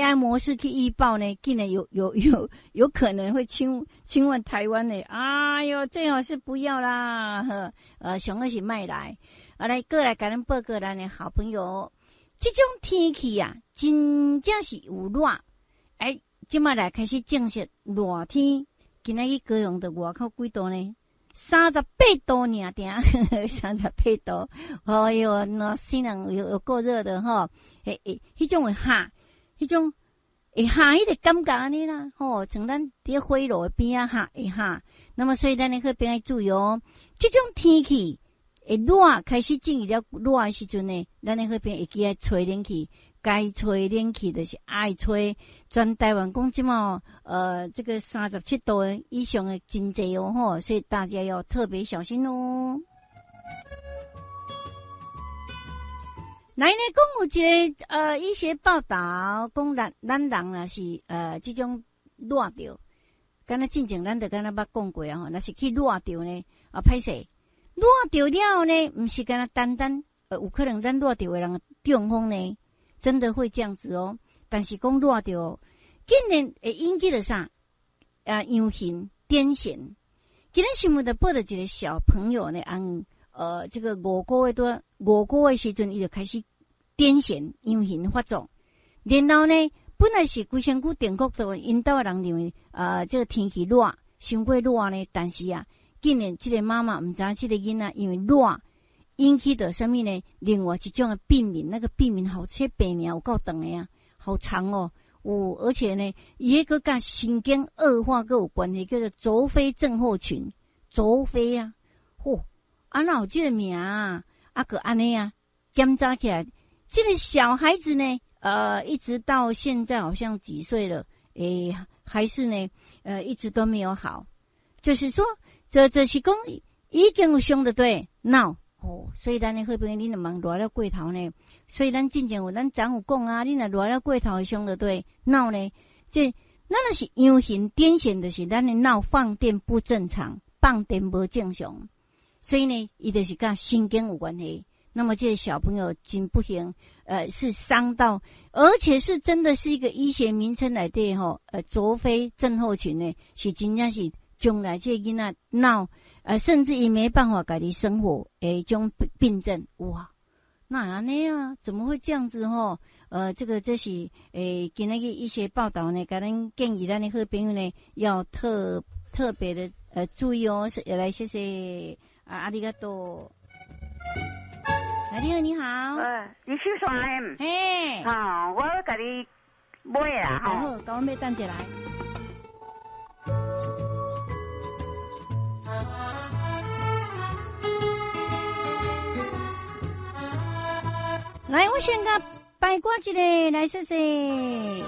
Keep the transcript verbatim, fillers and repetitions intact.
A I 模式去預報呢，竟然有有有有可能會侵侵犯台灣呢。哎喲，最好是不要啦，呵，呃，上好是莫來，啊來過來共咱報告咱的好朋友，這種天氣啊，真正是有熱，哎，這馬來開始正式熱天，今仔日高雄的外口幾度呢？三十八度爾爾，三十八度，哎喲，那死人有有夠熱的吼，欸欸，彼種會熱，彼種會熱，彼個感覺按呢啦，吼，像咱佇火爐邊仔熱會熱，那麼所以咱的好朋友注意哦，這種天氣會熱，開始進入了熱的時陣呢，咱的好朋友會記愛吹冷氣，該吹冷氣就是愛吹。全台灣講這馬呃，這個三十七度以上的真濟哦吼，所以大家要特別小心哦。來呢，講有一個呃醫學報導，講咱咱人若是呃這種熱著，敢若進前咱就敢若捌講過啊吼，若是去熱著呢，啊歹勢，熱著了後呢，毋是敢若單單呃有可能咱熱著的人中風呢，真的會這樣子哦。但是講熱著，竟然會引起著啥？啊，陽眩、癲癇。今日新聞就報著一個小朋友呢，按呃這個五個月多五個月時陣，伊就開始癲癇、陽眩發作。然後呢，本來是規身軀電國的，𪜶兜的人認為啊，呃，這個天氣熱，傷過熱呢。但是啊，竟然這個媽媽毋知影這個囡仔因為熱引起著啥物呢？另外一種的病名，那個病名好，這病名有夠長的啊，好長哦。有，而且呢，伊彼個佮神經惡化閣有關係，叫做卓菲症候群。卓菲啊，嚯，啊哪有這個名啊？啊，閣按呢啊，檢查起來，這個小孩子呢，呃，一直到現在好像幾歲了，欸，還是呢，呃，一直都沒有好。就是說，這這是講已經有傷著對腦哦，所以咱的好朋友，你若茫熱了過頭呢，所以咱進前有咱昨有講啊，你若熱了過頭會傷著對腦呢，這咱若是陽眩癲癇，就是咱的腦放電不正常，放電無正常，所以呢，伊就是佮神經有關係。那麼這個小朋友真不幸，呃，是傷到，而且是真的是一個醫學名稱來的吼，呃，卓菲症候群呢，是真正是將來這個囡仔腦，呃，甚至於沒辦法家己生活，的這種病症，哇，哪會按呢啊？怎麼會這樣子吼？呃，這個這是欸，今仔日一些報道呢，共咱建議咱的好朋友呢，要特特別的呃注意哦。來，謝謝啊，阿里嘎多。來，你好，你好。呃，你秀山。嘿。好，我共你買啦，吼。好，共我買等一來。來，我先共排骨一下，來，謝謝。